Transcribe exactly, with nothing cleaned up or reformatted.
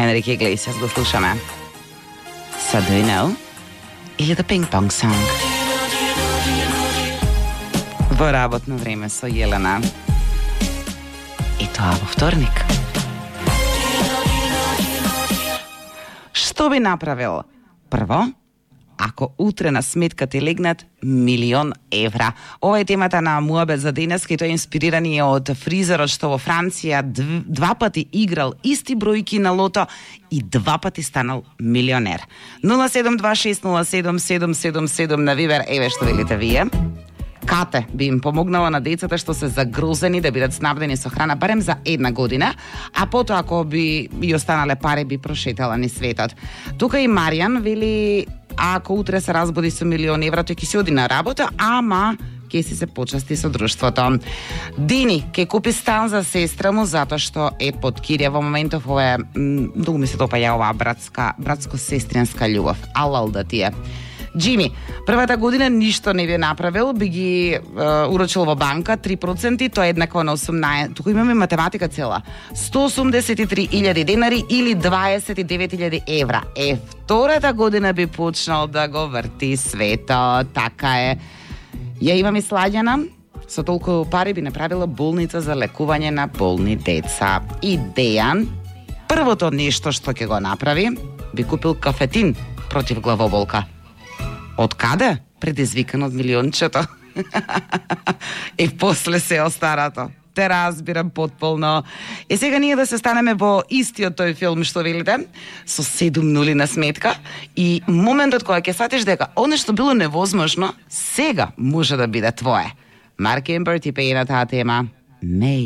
Енрике Иглесиас го слушаме. So do you know? Или The Ping Pong Song. Во работно време со Јелена. И тоа во вторник. Што би направил? Прво, ако утре на сметка ти легнат милион евра. Ова е темата на Муабет за денес, кај тоа инспирирани од фризерот што во Франција два пати играл исти бројки на лото и два пати станал милионер. нула седум два шест нула седум седум седум седум на Вибер, еве што велите вие. Кате би им помогнала на децата што се загрозени да бидат снабдени со храна барем за една година, а потоа ако би и останале пари би прошетала ни светот. Тука и Маријан вели, ако утре се разбуди со милион евра, тој ќе си оди на работа, ама ќе си се почасти со друштвото. Дини ќе купи стан за сестра му затоа што е под кирја во моментов. Ова е многу ми се допаѓа оваа братска братско-сестринска љубов. Алал да ти е. Джими, првата година ништо не би направил, би ги е, урочил во банка три проценти, тоа е еднакво на осумнаесет. Тука имаме математика цела. сто осумдесет и три илјади денари или дваесет и девет илјади евра. Е, втората година би почнал да го врти светот. Така е. Ја имам и Сладјана. Со толку пари би направила болница за лекување на болни деца. И Дејан, првото нешто што ќе го направи, би купил кафетин против главоболка. Од каде? Предизвикан од милиончето. И после се остарато. Те разбирам потполно. И сега ние да се станеме во истиот тој филм што велите, со седум нули на сметка, и моментот кога ќе сатиш дека оно што било невозможно, сега може да биде твое. Марк Емберт и пее на таа тема. Меј.